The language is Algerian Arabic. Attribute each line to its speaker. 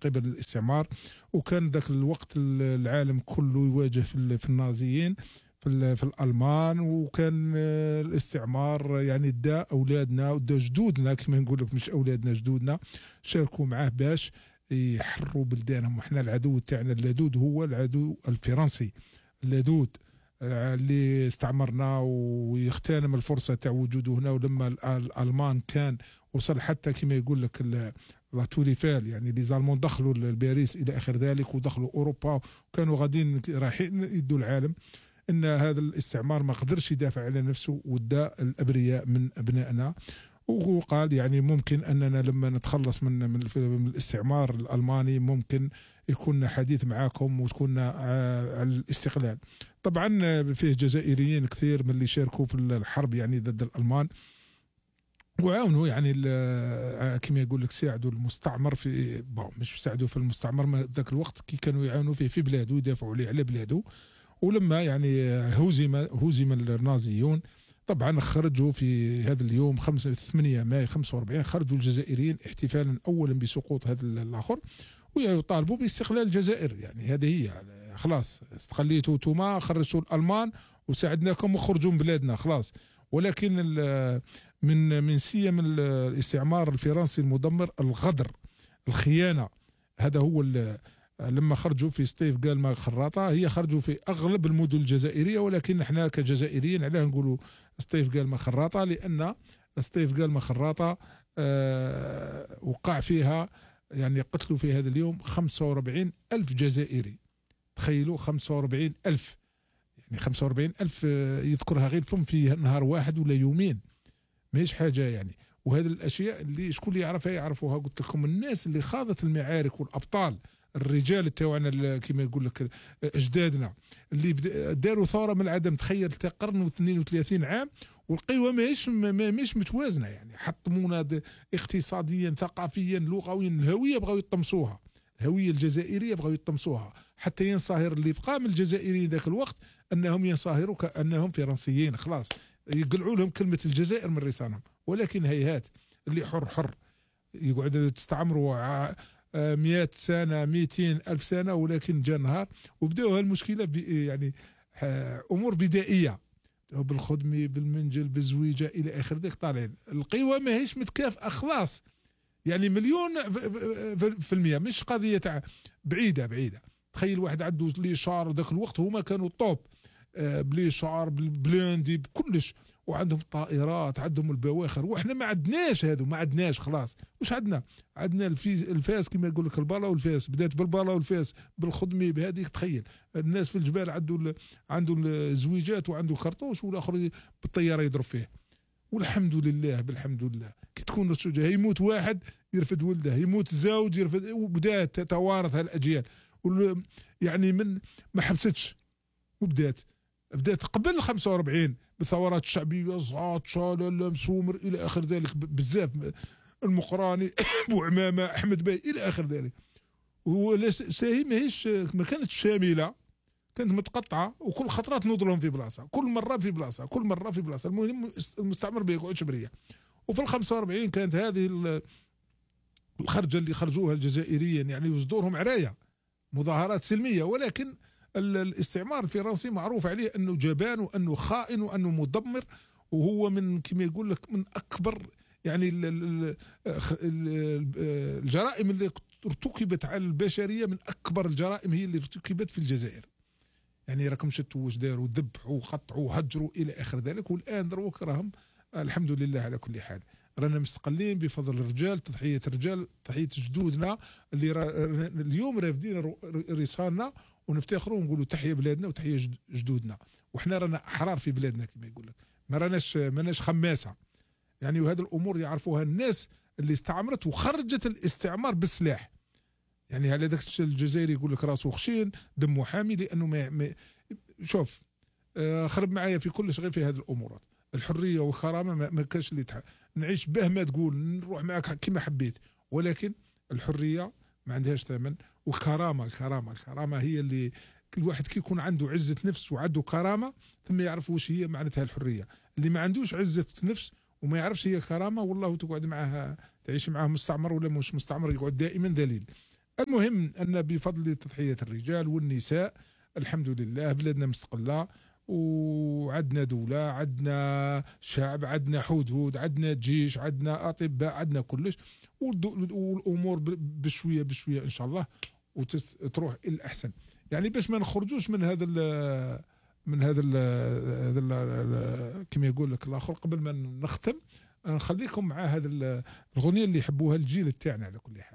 Speaker 1: قبل الاستعمار. وكان ذاك الوقت العالم كله يواجه في النازيين في الألمان، وكان الاستعمار يعني دا أولادنا ودا جدودنا كما نقول لك، مش أولادنا جدودنا شاركوا معاه باش يحرروا بلدانهم. وحنا العدو تاعنا اللدود هو العدو الفرنسي اللدود اللي استعمرنا ويغتنم الفرصة تاع وجوده هنا. ولما الألمان كان وصل حتى كما يقول لك لا توريفال، يعني لي زالمون دخلوا لباريس إلى آخر ذلك، ودخلوا أوروبا وكانوا غاديين رايحين يدوا العالم، ان هذا الاستعمار ما قدرش يدافع على نفسه ودا الابرياء من ابنائنا. وقال يعني ممكن اننا لما نتخلص من الاستعمار الالماني ممكن يكون حديث معاكم وتكون على الاستقلال. طبعا فيه جزائريين كثير من اللي شاركوا في الحرب يعني ضد الالمان، وعاونوا يعني كما يقول لك ساعدوا المستعمر في مش ساعدوا في المستعمر ذاك الوقت كي كانوا يعاونوا فيه في بلاده يدافعوا عليه على بلاده. ولما يعني هزم النازيون طبعا خرجوا في هذا اليوم 8 ماي 45 خرجوا الجزائريين احتفالا اولا بسقوط هذا الاخر ويطالبوا باستقلال الجزائر. يعني هذه هي يعني خلاص استقليتوا انتم، خرجتوا الالمان وساعدناكم وخرجوا من بلادنا خلاص. ولكن من سيم الاستعمار الفرنسي المدمر الغدر الخيانه، هذا هو لما خرجوا في سطيف قال خراطة، هي خرجوا في أغلب المدن الجزائرية، ولكن احنا كجزائريين علاه نقولوا سطيف قال خراطة؟ لأن سطيف قال خراطة وقع فيها يعني قتلوا في هذا اليوم 45 ألف جزائري. تخيلوا 45 ألف، يعني 45 ألف يذكرها غير فم في نهار واحد ولا يومين، ماهيش حاجة يعني. وهذه الأشياء اللي شكون اللي يعرفها يعرفوها. قلت لكم الناس اللي خاضت المعارك والأبطال الرجال تاعنا كما يقول لك اجدادنا اللي داروا ثوره من العدم. تخيل قرن و32 عام والقوى ماهيش متوازنه، يعني حطمونا اقتصاديا ثقافيا لغويا. الهويه بغاو يطمسوها، الهويه الجزائريه بغاو يطمسوها حتى ينصهر اللي بقى من الجزائريين ذاك الوقت انهم ينصهروا كانهم فرنسيين، خلاص يقلعوا لهم كلمه الجزائر من لسانهم. ولكن هيهات اللي حر يقعد تستعمروا 100 سنة 200 ألف سنة، ولكن جاء نهار وبدأوا هالمشكلة يعني أمور بدائية بالخدمة بالمنجل بالزويجة إلى آخر ذلك. طالعين القوى ماهيش متكافئة خلاص، يعني مليون في المية، مش قضية بعيدة. تخيل واحد عنده لي شعر ذاك الوقت هما كانوا طوب بلي شعر بالبلاندي بكلش، وعندهم طائرات عندهم البواخر، واحنا ما عندناش هذو، ما عندناش خلاص. وش عندنا الفاس كما يقول لك البالا والفاس، بدات بالبالا والفاس بالخدمه بهذه. تخيل الناس في الجبال عنده الزويجات وعنده الخرطوش، والاخر بالطياره يضرب فيه. والحمد لله بالحمد لله كي تكون الشجاع يموت واحد يرفد ولده، يموت زوج يرفد، وبدات تتوارث هالاجيال. يعني من ما حبستش وبدات قبل 45 بالثورات الشعبيه، زعاط شالل مسومر الى اخر ذلك بزاف، المقراني بوعمامه احمد باي الى اخر ذلك. ساهي ما كانت شامله، كانت متقطعه، وكل خطره تنوض لهم في بلاصه، كل مره في بلاصه. المهم المستعمر ما يقعدش بريه. وفي ال 45 كانت هذه الخرجه اللي خرجوها الجزائريين، يعني يصدرهم عرايه مظاهرات سلميه، ولكن الاستعمار الفرنسي معروف عليه انه جبان وانه خائن وانه مدمر، وهو من كما يقول لك من اكبر يعني الجرائم اللي ارتكبت على البشريه، من اكبر الجرائم هي اللي ارتكبت في الجزائر. يعني راكم شتوا واش داروا، ذبحوا وقطعوا وهجروا الى اخر ذلك. والان دروك راهم الحمد لله على كل حال رانا مستقلين بفضل الرجال، تضحيه الرجال، تضحيه جدودنا اللي اليوم رافدين رسالنا، ونفتخروا ونقولوا تحية بلادنا وتحية جدودنا. وحنا رانا احرار في بلادنا كما يقول لك، ما راناش خماسه يعني. وهذه الامور يعرفوها الناس اللي استعمرت وخرجت الاستعمار بالسلاح. يعني على ذاك الجزائري يقول لك راسه خشين دمه حامي، لانه ما شوف خرب معايا في كل شيء في هذه الامورات. الحريه والكرامه ما كانش اللي نعيش به ما تقول، نروح معك كما حبيت، ولكن الحريه ما عندهاش ثمن. والكرامه هي اللي كل واحد كي يكون عنده عزه نفس وعنده كرامه ثم يعرف واش هي معناتها الحريه. اللي ما عندوش عزه نفس وما يعرفش هي كرامه، والله تقعد معها تعيش معاه مستعمر ولا مش مستعمر، يقعد دائما ذليل. المهم أن بفضل تضحية الرجال والنساء الحمد لله بلادنا مستقلة، وعندنا دولة، عندنا شعب، عندنا حدود، عندنا جيش، عندنا أطباء، عندنا كلش، والأمور بشوية بشوية إن شاء الله وتروح إلى الأحسن. يعني باش ما نخرجوش من هذا كما يقول لك الآخر قبل ما نختم، نخليكم مع هذا الأغنية اللي يحبوها الجيل تاعنا على كل حال.